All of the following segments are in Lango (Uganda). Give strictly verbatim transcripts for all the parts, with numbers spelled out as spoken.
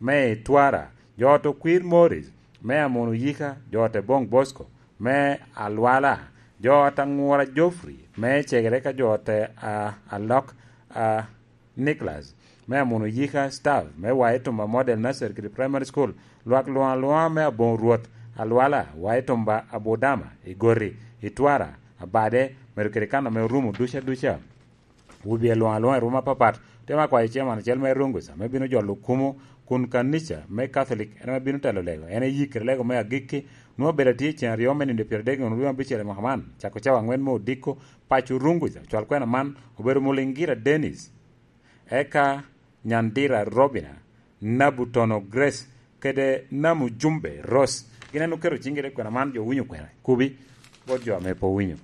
me Itwara, jo ot Okwir Morris, me Amono Yika, jo ot Ebong Bosco, me Alwala, jo ot Aŋura Geoffrey, me Cegere ka jo ot a, Alok a, Nicholas, me Amono Yika staff, me Wai Tumba Model Nursery kede Primary School, lwak luŋ aluŋa me Aboŋo Rwot, Alwala, Wai Tumba, Abudama, Igoti, Itwara, Abade, medo kede kan ame orumo duca duca. Wubye luŋ aluŋa i ruma apapat, otemo akwayo chairman acel me Rungus, ame bino jolo kumo kun kanica me Catholic, en ame bino telo lego, en eyikkere lego me agikki, nwoŋo abedo atye i cen aryo me nino pyeraryo adek nino abicel i mwaka man, cako cawa aŋwen me odiko, paco Rungus, cwal kwena man, obedo Mulingira Dennis, eka Nyandira Robina, Nabutono Grace, kede Namu Jumbe Rose. Gin en oketo ciŋgi i kwena man, jo winyo kwena, kubi, bot jo ame pe owinyo.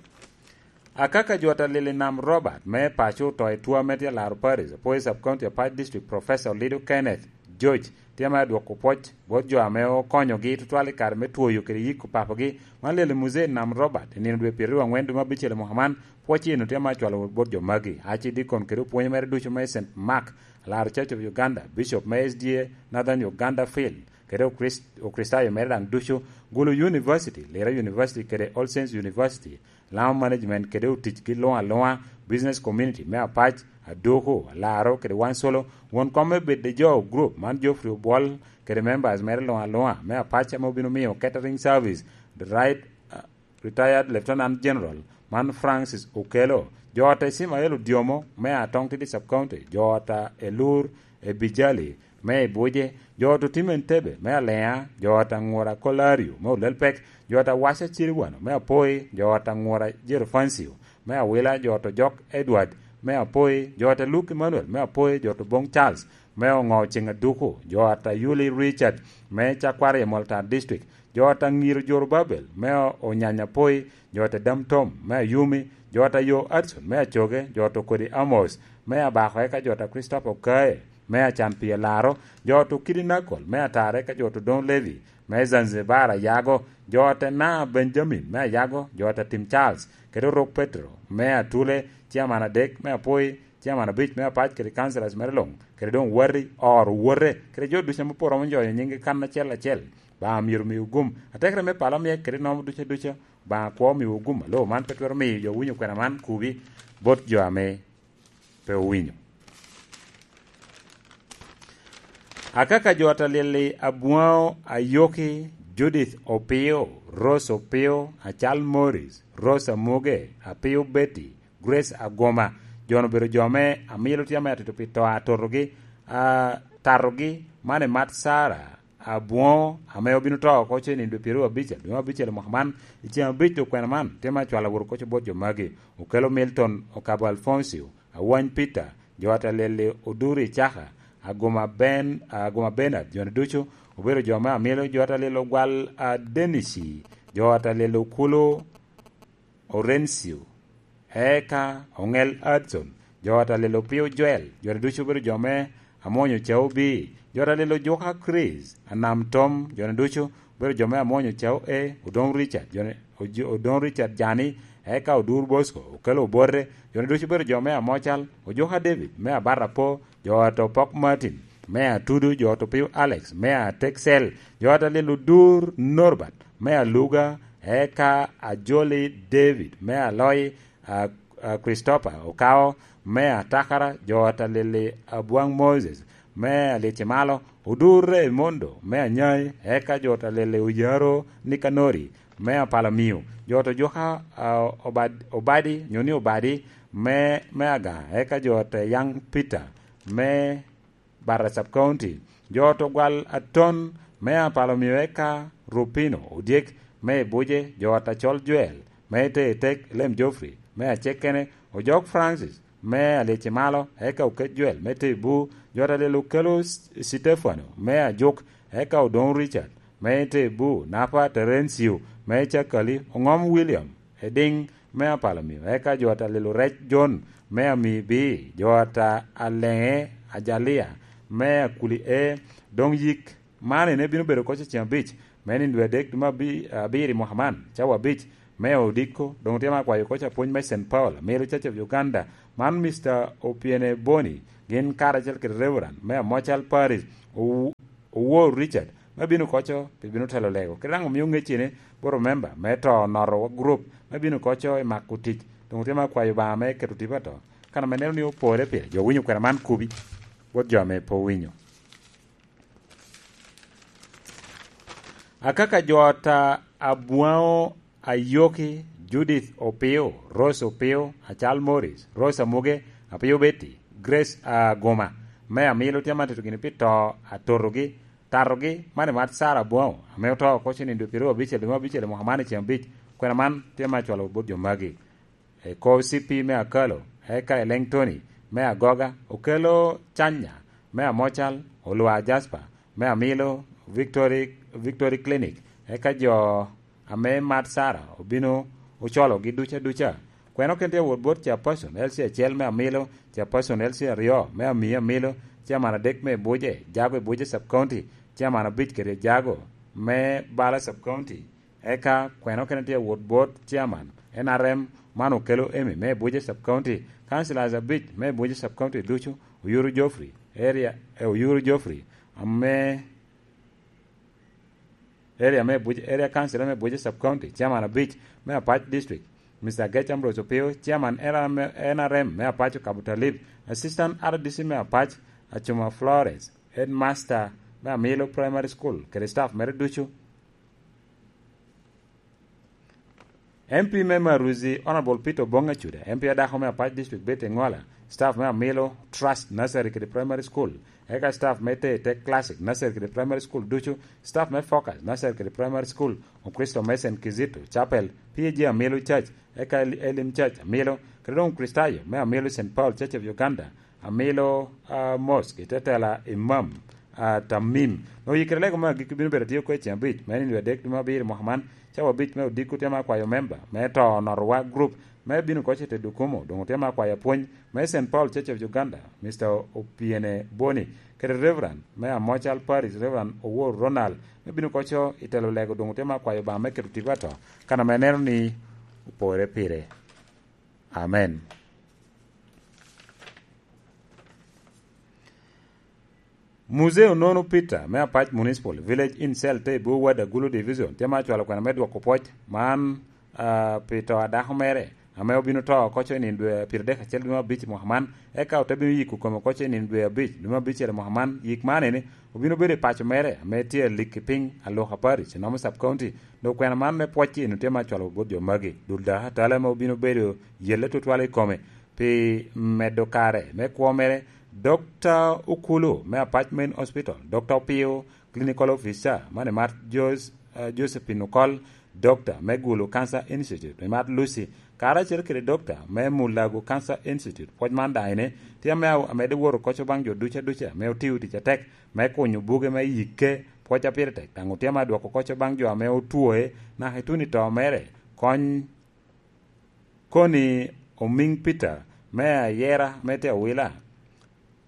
Akaka jo ot Alili Nam Robert, me paco oto i two me tye Laro Parish, Apwoyo Sub County, Apac District, Professor Lido Kenneth George, tye ame adwoko pwoc bot jo ame okonyogi tutwal i kare me twoyo kede yiko papogi. Man Lili Muzee Nam Robert, i nino dwe pyeraryo angwen dwe me abicel i mwaka man, pwoc eno tye ame acwalo bot jo magi, Archdeacon kede opwonyo mere ducu me Saint Mark, Alaro Church of Uganda, Bishop me S D A Northern Uganda Field, kede Okrist-, Okricitayo mere daŋ ducu, Gulu University, Lira University kede All Saints University, Lamu Management kede oticgi luŋ aluŋa, Business Community me Apac, Aduku, Alaro kede Wansolo, won kom me Bed the Jow Group man Geoffrey Obwol kede members mere luŋ aluŋa me Apac ame obino miyo catering service, the right, uh, Retired Lieutenant General man Francis Okello, jo ot Ismael Odiomo me Atong Tidi Sub County, jo ot Elur Ebijali me Ibuje, jo ot Otim Entebbe me Alea, jo ot Aŋura Kolario me Olelpek, jo ot Awaca Ciriwano me Apoi, jo ot Aŋura Jerofancio me Awila, jo ot Ojok Edward me Apoi, jo ot Luke Emmanuel me Apoi, jo ot Obong Charles me Oŋo Ceŋ Aduku, jo ot Ayuli Richard me Cakwari i Moltar District, jo ot Aŋiro Jorobabel me Onyanya Apoi, jo ot Dam Tom me Ayumi, jo ot Ayo Adson me Acoge, jo ot Okodi Amos me Abako, eka jo ot Christopher Okaye me Acan Pii Alaro, jo ot Okidi Nakol me Atare, eka jo ot Odong Levi me Zanzibar Ayago, jo ot Ena Benjamin me Ayago, jo ot Atim Charles, kede Orok Petro me Atule, Chairman adek me Apoi, Chairman abic me Apac kede councillors mere luŋ, kede doŋ wati, oro, wote, kede jo ducu ame pwod romo nyoyo nyinggi kan acel acel. Obaŋa myero omiwu gum. Atekere me pala omyek kede nomo duca duca. Obaŋa kwo omiwu gum. Alo man pe twero miyo jo winyo kwena man kubi bot jo ame pe owinyo. Akaka jo ot Alili Abwaŋo Ayoki, Judith Opio, Rose Opio, Acal Morris, Rose Amuge, Apio Betty, Grace Agoma, jo-nu obedo jo ame amilo tye ame atito pi to atotogi, a, tatogi, man i mat Sara Abwoŋo, ame obino to oko ce nino dwe pyeraryo abic, dwe me abicel i mwaka man, i ceŋ abic dwe kwena man, tye me acwalo awot oko ce bot jo magi, Okello Milton, Okabo Alfoncio, Awany Peter, jo ot Alili Oduri Icaka, Agoma Ben, Agoma Bernard, jo-ni ducu obedo jo me amilo, jo ot Alili Ogwal, a, Denisi, jo ot Alili Okulu, Orencio, eka Oŋel Adson, jo ot Alili Opio Joel, jo-ni ducu obedo jo me amwonyo Cao Bii, jo ot Alili Ojuka Chris, Anam Tom, jo-ni ducu obedo jo me amwonyo Cao E, Odong Richard, jo-ni, Ojo-, Odong Richard Jani, eka Odur Bosco, Okello Obote, jo-ni ducu obedo jo me Amocal, Ojuka David, me Abata Po, jo ot Opok Martin, me Atudu, jo ot Opio Alex, me Ateksel, jo ot Alili Odur Norbert, me Aluga, eka Ajoli David, me Aloi, a, a, Christopher Okao, me Atakara, jo ot Alili Abwaŋ Moses, me Alicimalo, Odur Raimondo, me Anyai, eka jo ot Alili Oyaro Nikanori, me Apalamio, jo ot Ojuka, a, Obad-, Obadi, nyo ni Obadi, me, me Aga, eka jo ot Yaŋ Peter, me Barra Sub County, jo ot Ogwal Aton, me Apalamio, eka Rupino Odyek, me Ibuje, jo ot Acol Joel, me Teetek, Lem Geoffrey, me Acekkene, Ojok Francis, me Alicimalo, eka Oket Joel, me Tebu, jo ot Alili Okello S-, Sitefano, me Ajuk, eka Odong Richard, me Tebu, Napa Terencio, me Cakali, Oŋom William, Ediŋ, me Apalamio, eka jo ot Alili Orec John, me Ami Bii, jo ot Aleŋe Ajalia, me Akuli E, doŋ yik man ene bino bedo oko ce ceŋ abic, me nino dwe adek dwe me abi-, abiro i mwaka man, cawa abic, me odiko, doŋ otye me akwayo oko ce apwony me Saint Paul, Amilo Church of Uganda, man Mister Opiene Boni, gin karacel kede Reverend, me Amocal Parish, owu-, Owor Richard, me bino koco pi bino telo lego. Kit daŋ omio ŋecci ni bot omemba me to noto group me bino koco i mako tic. Doŋ otye me akwayo Obaŋa me keto tipo ato. Kan ame neno ni opore pire, jo winyo kwena man kubi, bot jo ame pe owinyo. Akaka jo ata Abwaŋo Ayoki, Judith Opio, Rose Opio, Acal Morris, Rose Amuge, Apio Betty, Grace Aguma, me Amilo tye man tito gini pi to atotogi, tatogi, man i mat Sarah Abwaŋo, ame oto oko cen i dwe pyeraryo abicel dwe me abicel i mwaka man i ceng abic, kwena man tye me acwalo bot jo magi. E ko C P me Akalo, eka Eleŋ Tony, me Agoga, Okelo Canya, me Amocal, Olwa Jasper, me Amilo, Victory, Victory Clinic, eka jo ame mat Sara obino ocologi duca duca. Kweno ken tye awot bot Chairperson L C acel me Amilo, Chairperson L C aryo me Ami Amilo, Chairman adek me Ibuje, Jago Ibuje Sub County, Chairman abic kede Jago me Bala Sub County. Eka kweno ken tye awot bot Chairman N R M man Okelo Emi me Ibuje Sub County, Councillors abic me Ibuje Sub County ducu, Oyuru Geoffrey, area, eh, Oyuru Geoffrey, ame area me Abuja, area council me Abuja Sub County, chairman abic me Apac District, Mister Agech Ambrose Opio, chairman N R M, N R M me Apac Okabo Talib, assistant R D C me Apac, Achuma Florence, headmaster me Amilo Primary School, kede staff mere ducu. M P me Maruzi, Honorable Peter Obong Acuda, M P adako me Apac District Betty Engola, staff me Amilo Trust Nursery kede Primary School, eka staff me Tete Classic Nursery kede Primary School ducu, staff me Focus Nursery kede Primary School, Okristo me Saint Kizito Chapel, P A G Amilo Church, eka Elim Church Amilo, kede doŋ Okristayo me Amilo Saint Paul Church of Uganda, Amilo, ah, Mosque, i te tela Imam, ah, Tamim. Nwoŋo yikere lego me agikki bino bedo atye oko i ceng abic, me nino adek dwe me abiro i mwaka man, cawa abic me odiko tye me akwayo memba me to notowa group me bino koc i te Dukumo, doŋ otye me akwayo apwony me Saint Paul Church of Uganda, Mister Opiene Boni, kede Reverend me Amocal Parish, Reverend Owor Ronald, me bino koco i telo lego, doŋ otye me akwayo Obaŋa me keto tipo ato, kan ame neno ni opore pire. Amen. Muzee Onono Peter me Apac Municipal Village in Cell te i Bwo Ward Agulu Division tye ma acwalo kwena me dwoko pwoc man, ah, pi to a dako mere ame obino to oko co i nino dwe pyeradek acel dwe me abic i mwaka man, eka ote bino yiko kome oko co i nino dwe abic dwe me abicel i mwaka man. Yik man eni obino bedo i paco mere ame tye alik i piny Aluka Parish, Noma Sub County. Dok kwena man me pwoc eno tye ma acwalo bot jo magi. Dul dako atala ame obino bedo yelle tutwal i kome pi medo kare me kwo mere, Dokta Okulu me Apac Main Hospital, Dokta Opio, Clinical Officer, man i mat Jos-, eh, Josephine Okol, Dokta me Gulu Cancer Institute, i mat Lucy, karacel kede Dokta me Mulago Cancer Institute. Pwoc man daŋ ene tye ame a-, amedde woro koco baŋ jo duca duca ame otio tic atek me kunyo buge me yikke, pwoc a pire tek, daŋ otye ame adwoko koco baŋ jo ame otwoe naka ituno i to mere, kony Koni Omiŋ Peter me Ayera me tye Awila,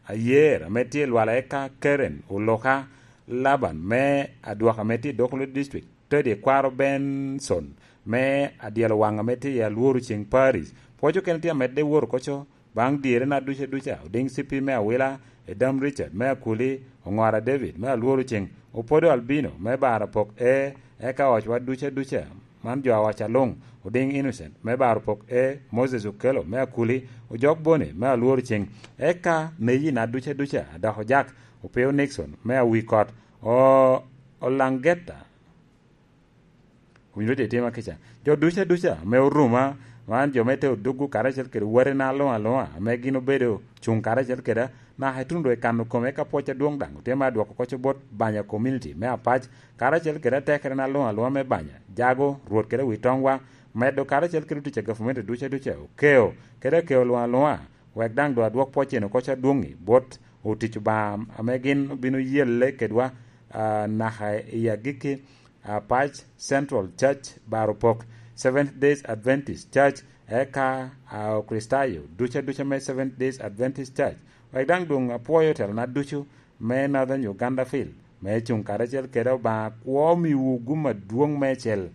Ayer ame tye i Lwala, eka Karen Oloka Laban me Adwoka ame tye i Dokolo District, Teddy Kwaro Benson me Adyelo Waŋ ame tye i Alworo Ceŋ Parish. Pwoc okene tye amedde woro koco baŋ dyerena duca duca, Odiŋ C P me Awila, Edam Richard me Akuli, Oŋora David me Alworo Ceŋ, Opodo Albino me Baro Pok E, eka ocwa duca duca, man jo awac aluŋ, Odiŋ Innocent me Baro Pok E, Moses Okello me Akuli, Ojok Boni me Alworo Ceŋ, eka Neyina duca duca, Adako Jack, Opio Nixon me Awikot, o-, Olangeta. Owinyo tye tye ma kica. Jo duca duca ame oruma, man jo me te oduggu karacel kede watena aluŋ aluŋa, ame gin obedo cuŋ karacel keda, naka ituno doŋ i kano kome ka pwoc adwoŋ daŋ otye me adwoko koco bot Banya community me Apac, karacel kede atekere na luŋ aluŋa me Banya, Jago, Rwot kede Witoŋwa, medo karacel kede otic a gavumenti duca duca, okeo, kede akeo luŋ aluŋa, wek daŋ doŋ adwok pwoc eno koco adwoŋ-ŋi bot otic Obaŋa ame gin obino yelle kedwa, ah, naka i agikki, ah, Apac Central Church, Baro Pok, Seventh Days Adventist Church, eka, ah, Okricitayo duca duca me Seventh Days Adventist Church, wek daŋ doŋ apwoyo telona ducu me Northern Uganda Field, me cuŋ karacel kede Obaŋa kwo omiwu gum adwoŋ meicel.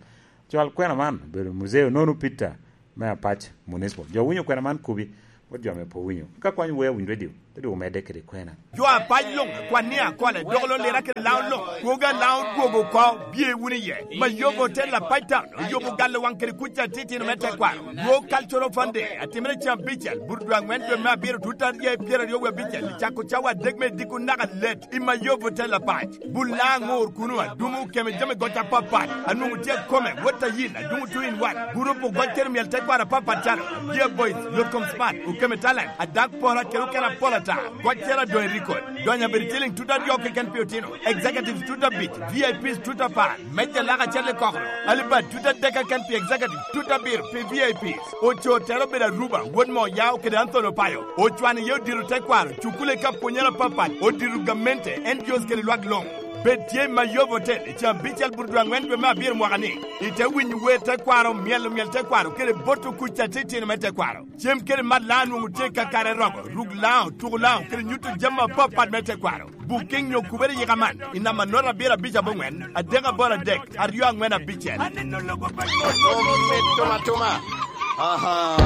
Cwal kwena man obedo Muzee Onono Peter me Apac Municipal. Jo winyo kwena man kubi, bot jo ame pe owinyo. Ka kwany wea winy radio, Te dwogo medde kede kwena. Jo apac luŋ, kwan ni akole, dok lo lira kede Laŋo luŋ, kwogo a Laŋo dwogo oko, bye wunu iye. Mayobo Hotel Apac Town oyubo galo waŋ kede kuc atitino me tekwaro. World Cultural Fund Day atimere cen abicel, Burudwa aŋwen dwe me abiro, tut aryo i pyeraryo wie abicel, i cako cawa adek me diko naka let i Mayobo Hotel Apac. Bul Laŋo aŋor kuno, adumo okeme jami goc apapat, anwoŋo tye akome, wot ayil, adumo two in one, gurup ogoc kede myel tekwaro apapat calo, Dear Boys, Yotkom Smart, okeme Talent, Adak Pora kede okene apol ata, goc cero adoŋ i record, donyo abedo ciliŋ tut aryo keken pi otino, executives tut abic, V I Ps tut apar, mejja lak acel i kokoro, alibad tut adek keken pi executive, tut abiro pi V I Ps, oco tere obedo Aruba, wot mo Yao kede Anthony Opayo, ocwano iye odiro tekwaro, cukule ka pwonyere apapat, odiro gamente, N G Os kede lwak luŋ. Bed tye i Mayobo Hotel i caa abicel Burudwa aŋwen dwe me abiro mwaka ni, ite winyo wer tekwaro, myelo myel tekwaro, kede boto kuc atitino me tekwaro. Cem kede mat Laŋo nwoŋo tye kakare romo, ruk Laŋo, tuko Laŋo, kede nyuto jami apapat me tekwaro. Booking nyo kubere yika man, i namba note abiro abic aboŋwen, adek aboro adek, aryo aŋwen abicel. Aneno lobo pa Mito matuma. Aha.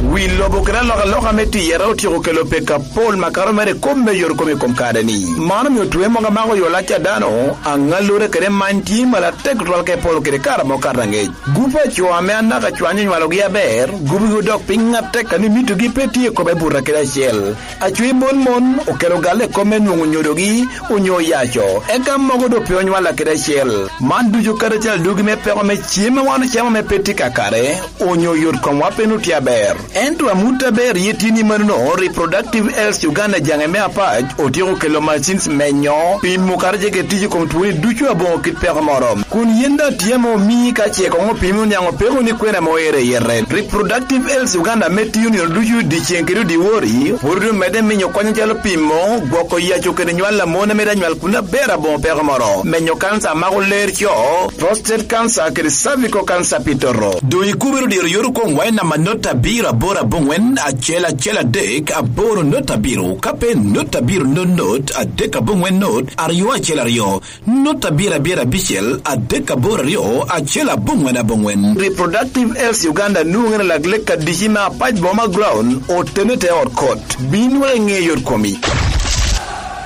Wi lobo kede alokaloka me tiyere otyeko kelo peko apol makato mere i kop me yot kom i kom kare-ni. Man omio twe mogo amako yo lac a dano, aŋallure kede many tye malo atek tutwal ka ipolo kede kare amo kato aŋec. Gup a co ame anaka cwany onywalogi aber, gubigi odok piny atek a ni mitogi pe tye i kome buto kede acel. Acwe mon mon okelo galle i kome nwoŋo nyodogi onyo oyaco, eka mogo doŋ pe onywalla kede acel. Man ducu kadi acel adugi me peko me cem a wan ocamo ame pe tye kakare, onyo yot komwa pe nwoŋo tye aber. Ento amut aber ye tye ni manono, Reproductive Health Uganda jaŋe me apac otyeko kelo machines menyo, pimo kadi ce kede tic i kom twoni ducu aboŋo kit peko moro. Kun yen daŋ tye ame omii ka ce koŋ opimi oniaŋ opeko ni kwena ame oero i yete. Reproductive Health Uganda ame tiyo nino ducu dyeceŋ kede dyewor-ri, pwod omedde miyo kony acalo pimo, gwoko yaco kede nywal a mon ame daŋ nywal kun aber aboŋo peko moro, menyo kanca a mako ler co, prostate cancer kede cervical cancer pi toto. Doŋ ikubere odiro yot okomwa i namba not abiro aboro aboŋwen acel acel adek aboro not abiro, ka pe not abiro not not adek aboŋwen not aryo acel aryo. Not abiro abiro abicel adek aboro aryo acel aboŋwen aboŋwen. Reproductive Health Uganda nwoŋere lak lek adici me apac boma ground otene te ot kot. Bin wek iŋe yot komi.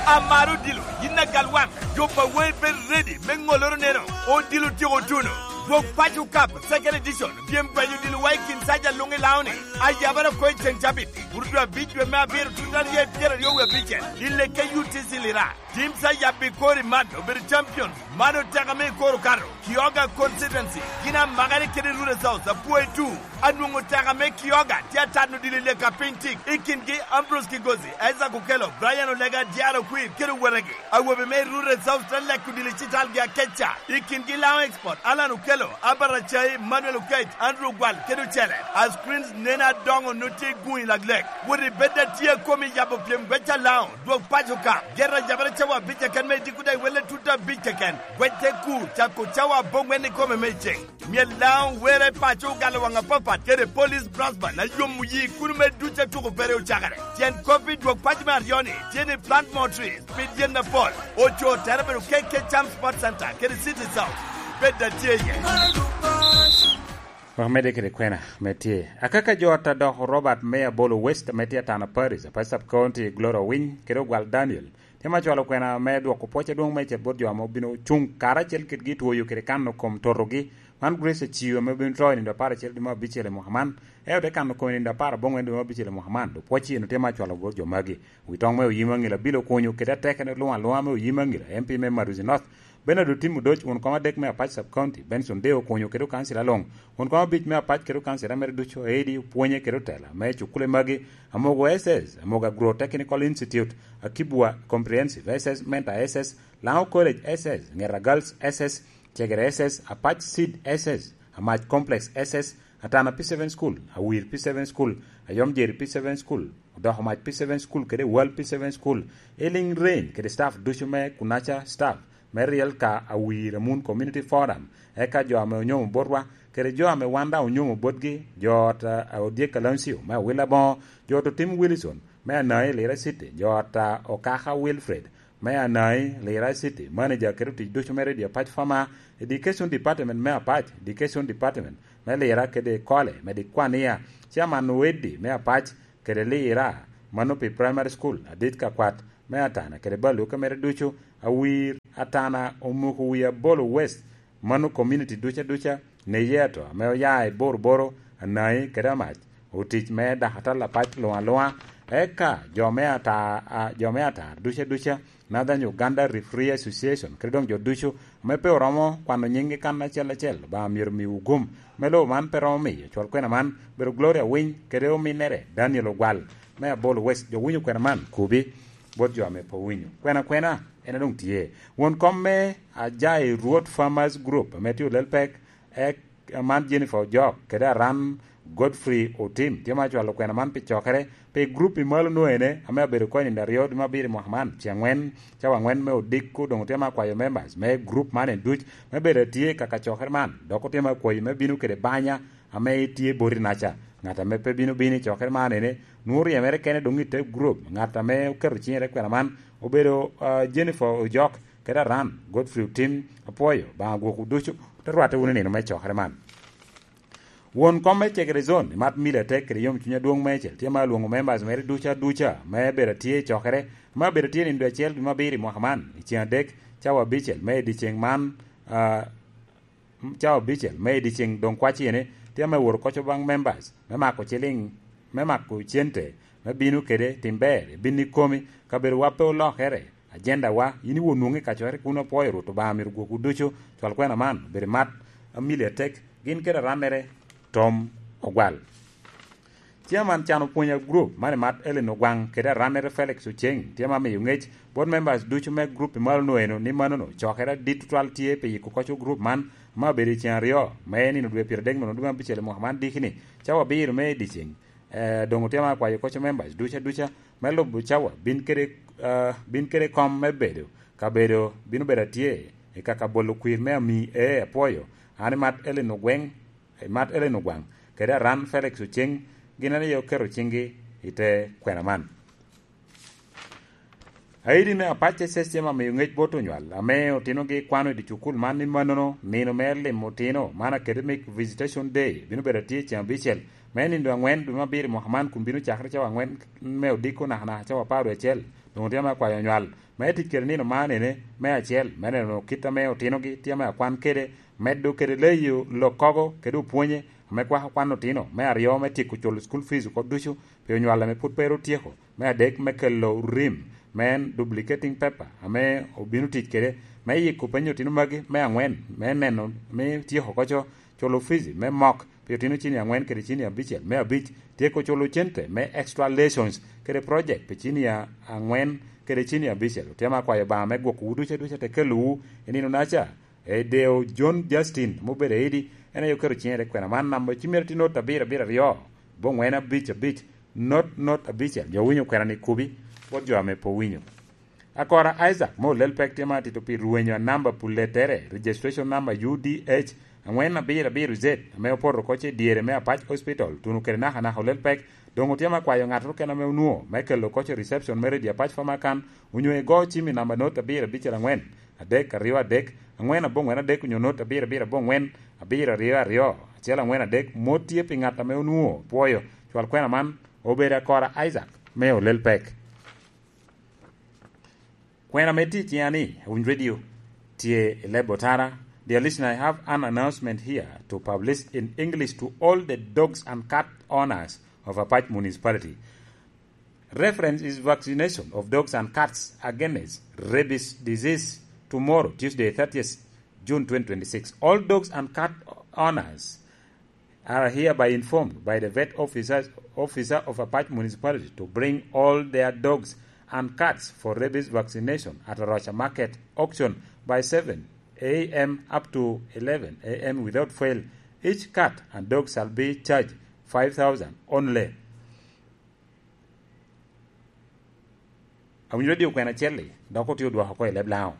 Amaro odilo, yin agal waŋ, jo pa wei bed ready me ŋoloro neno, odilo tyeko tuno. Dwog paco kap, second edition, pyem gwenyo odilo wa i kin saja luŋ i Laoni. Ayabara ko i ceŋ cabit, Burudwa abic dwe me abiro tut aryo i pyeraryo wie abicel, i leke U T C Lira. Tim sa yabbi kori man obedo champion. Man oteka me i koro kato. Kioga constituency. Gin amakere kede Rural South, apwoyo tu. Anwoŋo oteka me Kioga tye atano dilo i leka piny tik. I kingi Ambrose Kigozi, Isaac Okello, Brian Olega, Diaro Kwir, kede owetegi. Awobe me Rural South te leko dilo i citalgi akeca. I kingi Laŋo Export, Alan Okello, Albert Acai, Manuel Okech, Andrew Gwal, kede ocele. As Queens nene adoŋo nut tye i guŋ i laglek. Wot i bed atye a komi yabo pyem gweca Laŋo. Dwog paco ka, ger a yabere cawa abic keken me idiko daŋ iwelle tut abic keken. Gwec te kur, cako cawa aboŋwen ikome me iceŋ. Myel Laŋo were paco ogalo waŋ apapat kede Police Brass Band a yomo yi kuno me duc a tuko pere ocakere. Tyen kop i dwog paco me aryo-ni tye ni plant more trees, pid yen apol. Oco tere bedo K K Cham Sports Center kede City South. Bed atye iye. Wek medde kede kwena me tye. Akaka jo ata dok Robert me Abolo West ame tye Atana Parish, Apac Sub County, Gloria Owiny, kede Ogwal Daniel, tye ma cwalo kwena me dwoko pwoc adwoŋ meicel bot jo ame obino cuŋ karacel kedgi i twoyo kede kano kom totogi. Man Grace Aciu ame obino to i nino apar acel dwe me abicel i mwaka man. En ote kano kom i nino apar aboŋwen dwe me abicel i mwaka man. Dok pwoc eno tye ma cwalo bot jo magi. Wi toŋ me Oyim Aŋila, Bill Okunyu kede atekene luŋ aluŋa me Oyim Aŋila, M P me Maduzi North, Bernard Otim Odoc, won kom adek me Apac Sub County, Benson Deo Okunyu kede okancila luŋ, won kom abic me Apac kede okancila mere ducu, Aedi, opwonye kede otela me cukule magi, Amogo S S, Amogo Agro Technical Institute, Akibwa Comprehensive S S, Menta S S, Laŋo College S S, Ngeta Girls S S, Cegere S S, Apac Seed S S, Amac Complex S S, Atana P seven School, Awir P seven School, Ayomjeri P seven School, Odoko Mac P seven School kede Wal P seven School, Ealing Range kede staff ducu me Kunaca staff me Riel ka Awir Amun Community Forum, eka jo ame onyomo botwa, kede jo ame wan daŋ onyomo botgi, jo ot, eh, Odyek Alancio me Awila Boŋo, jo ot Otim Wilson me Anai Lira City, jo ot, eh, Okaka Wilfred me Anai Lira City, manager kede otic ducu me Radio Apac Fama, Education Department me Apac, Education Department me Lira kede Kole, me Dikwania, Chairman Oweddi me Apac, kede Lira, Mano pi Primary School adit ka kwat me Atana kede Baluka mere ducu, awir Atana omoko wi Abolo West, mano community duca duca, ne ye ato ame oya i Boroboro, Anai kede Amac, otic me dakatal apac luŋ aluŋa. Eka jo me Ata-, a, jo me Atar duca duca, Northern Uganda Referee Association, kede doŋ jo ducu ame pe oromo kwano nyinggi kan acel acel, ba myero miwu gum. Me lobo man pe romo miyo cwal kwena man bedo Gloria Winy kede ominnere Daniel Ogwal me Abolo West. Jo winyo kwena man kubi bot jo ame pe owinyo. Kwena kwena en a doŋ tye. Won kom me Ajai Rwot Farmers Group ame tye olel pek, ek, man Jennifer Ojok kede Aran Godfrey Otim tye ma cwalo kwena man pi cokere pi grup i malo nwoene ame abedo kony i aryo dwe me abiro i mwaka man, ci angwen, cawa angwen me odiko doŋ otye ma kwayo members me grup man en duc me bedo atye i kaka cokere man, dok otye ma kwayo me bino kede banya ame itye boti naca. Ŋat ame pe bino bino i cokere man ene, nwoŋo ryemere kene doŋ i te grup. Ŋat ame oketo cinyere kwena man obedo, ah, Jennifer Ojok kede Aran Godfrey Otim. Apwoyo, Obaŋa gwokwu ducu, te rwatte wunu i nino me cokere man. Won kom me Cegere Zone, Mat Mili Atek kede yomcuny adwoŋ meicel, tye ma alwoŋo members mere duca duca me bedo atye i cokere, ma bedo atye nindo acel dwe me abiro i mwaka man, i ceng adek, cawa abicel me i dyeceŋ man, ah, cawa abicel me i dyeceŋ doŋ kwacine, tye ame woro koco baŋ members, me mako ciliŋ, me mako cente, me bino kede tim ber, i bin ikomi, kabedo wa pe olokere, ajenda wa, yin iwo nwoŋi kacokere kun apwoyo Rwot Obaŋa myero gwokwu ducu, cwal kwena man, bedo i Mat Mili Atek, gin kede arannere Tom Ogwal. Chairman can opwonyo group man i Mat Ellen Ogwaŋ kede arannere Felix Oceng tye ma miyo ŋec bot members ducu me group i malo nwoeno ni manono cokere adit tutwal tye pi yiko koco group man ma obedo i ceng aryo me nino dwe pyeradek me dwe abicel i mwaka man diki ni cawa abiro me i dyeceng. Eh, doŋ otye ma kwayo koco members duca duca me lubo cawa bin kede, eh, bin kede kom me bedo kabedo bino bedo atye i kaka bolo kwir me ami e apwoyo. An i Mat Ellen Ogweng, i Mat Ellen Ogwaŋ, kede Aran Felix Oceng, gin aryo oketo ciŋgi i te kwena man. Aidi me Apac S S tye ma miyo ŋec bot onywal ame otinogi kwano i dye cukul man ni manono nino me limo otino man Academic Visitation Day bino bedo atye ceŋ abicel me nindo angwen dwe me abiro i mwaka man kun bino cakere cawa angwen me odiko nakanaka cawa apar wie acel. Doŋ otye ame akwayo onywal me tic kede nino man ene, me acel, me neno kit ame otinogi tye ame akwan kede, medo kede leyo lokkogo kede opwonye ame kwako kwan otino, me aryo, me tyeko culo school fees oko ducu pi onywal ame pwod pe ru tyeko, me adek, me kelo rim, me en duplicating paper ame obino tic kede, me yiko peny otino magi, me angwen, me neno me tyeko koco culo fees me mok pi otino cini angwen kede cini abicel, me abic, tyeko culo cente me extra lessons kede project pi cini a-, angwen kede cini abicel. Otema akwayo Obaŋa me gwoko wu duca duca te kelowu i nino naca. E deo John Justin, mubedo aidi, en aye oketo ciŋe te kwena man namba ci mere tye not abiro abiro aryo, bongwen abic abic, not not abicel. Jo winyo kwena ni kubi, bot jo ame pe owinyo. Akora Isaac, mo lel pek tye ma atito pi rwenyo a namba puletere, registration number U D H angwen abiro abiro Z, ame opoto oko ce dyere me Apac Hospital, tuno kede naka naka olel pek, doŋ otye ma kwayo ŋattoro kene ame onwoŋo, me kelo oko ce reception me Radio Apac Famakan, onyo igo cim i namba not abiro abicel angwen, adek aryo adek, angwen abongwen adek, onyo not abiro abiro abongwen, abiro aryo aryo, acel angwen adek, mot tye pi ŋat ame onwoŋo pwoyo, cwal kwena man, obedo Akora Isaac, me olel pek. Kwena me tic ya ni, Awinj Radio, tye i Lebo Tara. Dear listener, I have an announcement here to publish in English to all the dogs and cat owners of Apac Municipality. Reference is vaccination of dogs and cats against rabies disease tomorrow, Tuesday, thirtieth June twenty twenty-six. All dogs and cat owners are hereby informed by the vet officers, officer of Apac Municipality to bring all their dogs and cats for rabies vaccination at Arocha Market auction by seven a m up to eleven a m without fail. Each cat and dog shall be charged five thousand only. Awinyo Radio kwena acel-li, dok otye odwoko oko i leb Laŋo.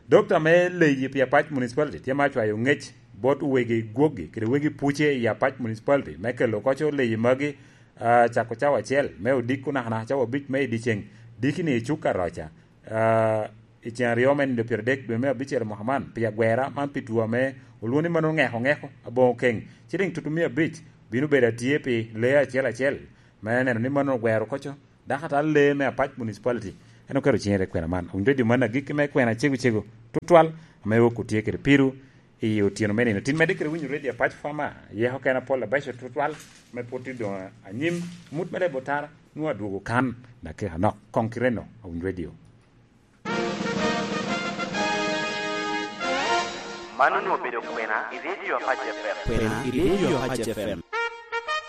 Dokta me leyi pi Apac Municipality tye ma acwayo ŋec bot wegi gwoggi kede wegi puce i Apac Municipality me kelo koco leyi magi, ah, cako cawa acel me odiko nakanaka cawa abic me i dyeceŋ, diki ni i Cuka Roca, ah, i ceŋ aryo me nindo pyeradek dwe me abicel mwaka man, pi agwera man pi two ame olwongo ni mano ŋeko ŋeko aboŋo keŋ, ciliŋ tutumia abic bino bedo atye pi lee acel acel, me neno ni mano ogwero koco Dako ata lee me Apac Municipality, en oketo ciŋe i kwena man. Owinyo redio man agikki me kwena cego cego tutwal, ame wok otye kede piru i otyeno me nino. Tin medde kede winyo redio Apac Fama, yeko kena pol abeco tutwal, me pwod tye doŋ anyim. Mut me lebo tara, nwoŋo adwogo kan, dakika nok. Koŋ kite no, Owinyo redio. Man onwoŋo obedo kwena i redio Apac F M. Kwena i redio Apac F M.